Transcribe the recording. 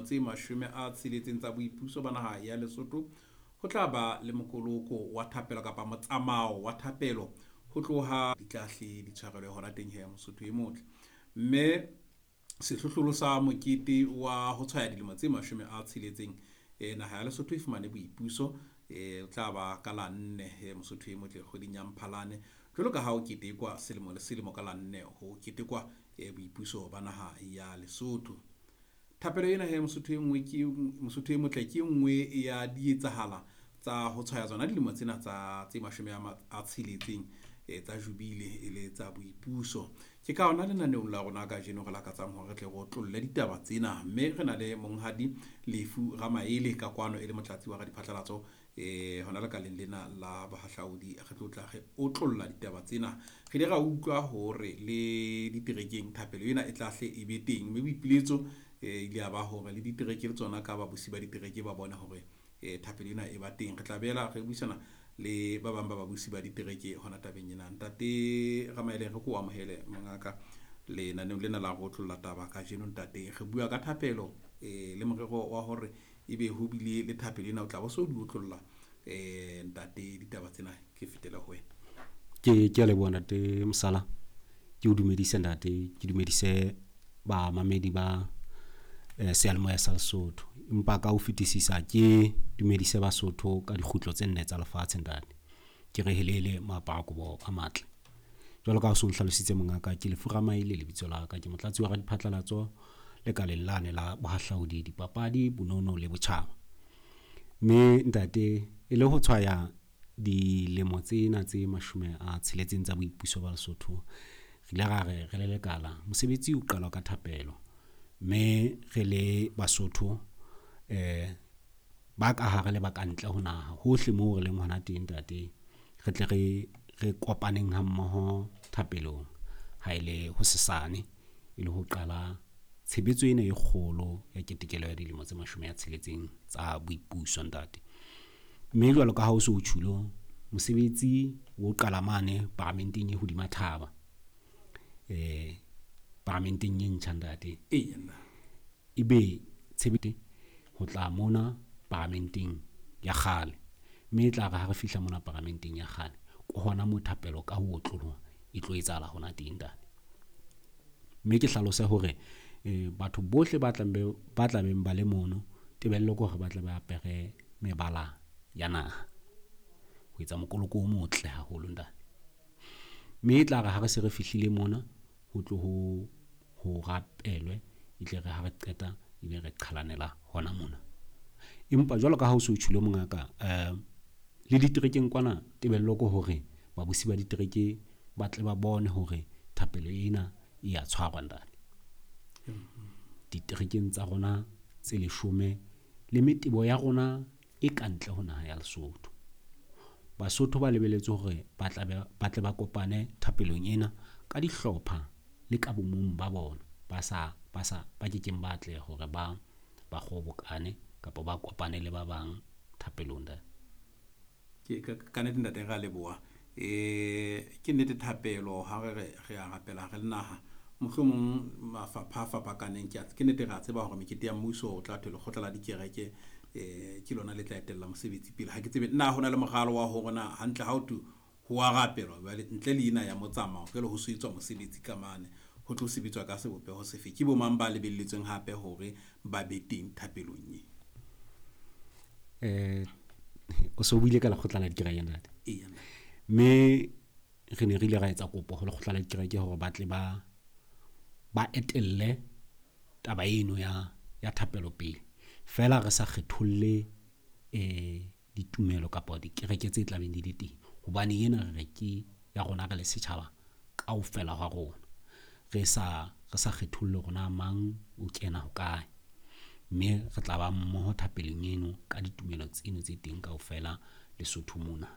tse 60 tsa boipuso ba naha ya Lesotho, ho tla ba le mokoloko wa thapelo kapa motsamao wa thapelo ho tloha di tlahle di tshwarelwe hona teng he, Mosotho e motle. Mme sehlohlolo sa mokete wa ho tshwaya dilemo tse 60 naha ya Lesotho e fumane boipuso, o tla ba ka la 4, Mosotho e motle, kgweding ya Mphalane, jwalo ka ha o ketekwa selemo le selemo ka la 4 ho ketekwa boipuso ba naha ya Lesotho. Thapelo ena he, Mosotho e nngwe ke Mosotho e motle, ke nngwe ya dietsahala tsa ho tshwaya tsona dilemo tsena tsa tse 60 tsa jubile e le tsa boipuso. Ke ka hona lenaneong la rona kajeno re lakatsang hore re tle re otlolle ditaba tsena, mme re na le monghadi Lefu Ramaele ka kwano e le motlatsi wa radiphatlalatso hona lekaleng lena la bohahlaudi. Re tlo tla re otlolla ditaba tsena. Re ile ra utlwa hore le diterekeng thapelo ena e tla hle e be teng, mme boipiletso ile ya ba hore le ditereke le tsona ka babusi ba ditereke ba bone hore thapelo ena e ba teng. Re tla beela re buisana le ba bang ba babusi ba ditereke hona tabeng ena. Ntate Ramaele, re ko amohele mongaka lenaneong lena la go otlolla taba kajeno. Ntate, re bua ka thapelo le morero wa hore ebe ho bile le thapelo ena, o tla bo so di otlolla ntate ditaba tsena. Ke fetele ho wena. Ke a leboha ntate Mosala. Ke o dumedise ntate, ke dumedise bamamedi ba seyalemoya sa Lesotho. Empa ka ho fetisisa ke dumedise Basotho ka dikgutlo tse nne tsa lefatshe ntate. Ke re helele moaparo a matle. Jwalo ka ha o so nhlalositse mongaka, ke Lefu Ramaele lebitso la ka, ke motlatsi wa radiphatlalatso lekaleng lane la bohahlaudi, dipapadi, bonono le botjhaba. Mme ntate, e le ho tshwaya dilemo tsena tse 60 tsa boipuso ba Lesotho, re ile ra re re le lekala mosebetsi o qalwa ka thapelo, mme re le Basotho ba ka hare le ba ka ntle ho naha, hohle moo re leng hona teng ntate, re tle re kopaneng ha mmoho thapelong ha ele hosesane, e le ho qala tshebetso ena e kgolo ya ketekelo ya dilemo tse 60 tsa boipuso ntate. Mme jwalo ka ha o so o tjhulo, mosebetsi o qala mane paramenteng e hodima thaba, paramenteng e ntjha ntate. Ebe tshebetso ho tla mona paramenteng ya kgale, mme e tla re ha re fihla mona paramenteng ya kgale, ke hona moo thapelo ka ho otloloha e tlo etsahala hona teng ntate. Mme ke hlalose hore batho bohle ba tlabeng ba le mono, tebello ke hore ba tle ba apere mebala ya naha ho etsa mokoloko o motle haholo ntate. Mme e tla re ha re se re fihlile mona, ho tlo ho rapelwe, e tle re ha re qeta ebe re qhalanela hona mona. Empa jwalo ka ha o so tjhulo mongaka, le diterekeng kwana tebello ke hore babusi ba ditereke ba tle ba bone hore thapelo ena e ya tshwarwa ntate. Diterekeng tsa rona tse 10 le metebo ya rona e ka ntle ho naha ya Lesotho. Basotho ba lebeletse hore ba tle ba kopane thapelong ena ka dihlopha le ka bomong ba bona, ba kekeng ba atleha hore ba kgobokane kapa ba kopane le ba bang thapelong ntate. Ke ka nnete ntate, re a leboha. Ke nnete thapelo ha re re a rapela re le naha, mohlomong mafapha a fapakaneng. Ke nnete re a tseba hore mekete ya mmuso o tla thwe lekgotla la dikereke ke lona le tla etella mosebetsi pele. Ha ke tsebe na hona le moralo wa hore na hantle ha o thwe ho a rapelwa jwale ntle le ena ya motsamao, jwale ho so etswa mosebetsi ka mane, ho tlo sebetswa ka sebopeho sefe? Ke bo mang ba lebelletsweng hape hore ba be teng thapelong e? O so buile ka lekgotla la dikereke ntate. Eya. Mme re ne re ile ra etsa kopo ho lekgotla la dikereke hore ba tle ba etelle taba eno ya thapelo pele, fela re sa kgetholle ditumelo kapa dikereke tse tlabeng di le teng, hobane ena re re ke ya rona re le setjhaba kaofela ha rona, re sa kgetholle hore na mang o kena hokae, mme re tla ba mmoho thapelong eno ka ditumelo tseno tse teng kaofela Lesotho mona.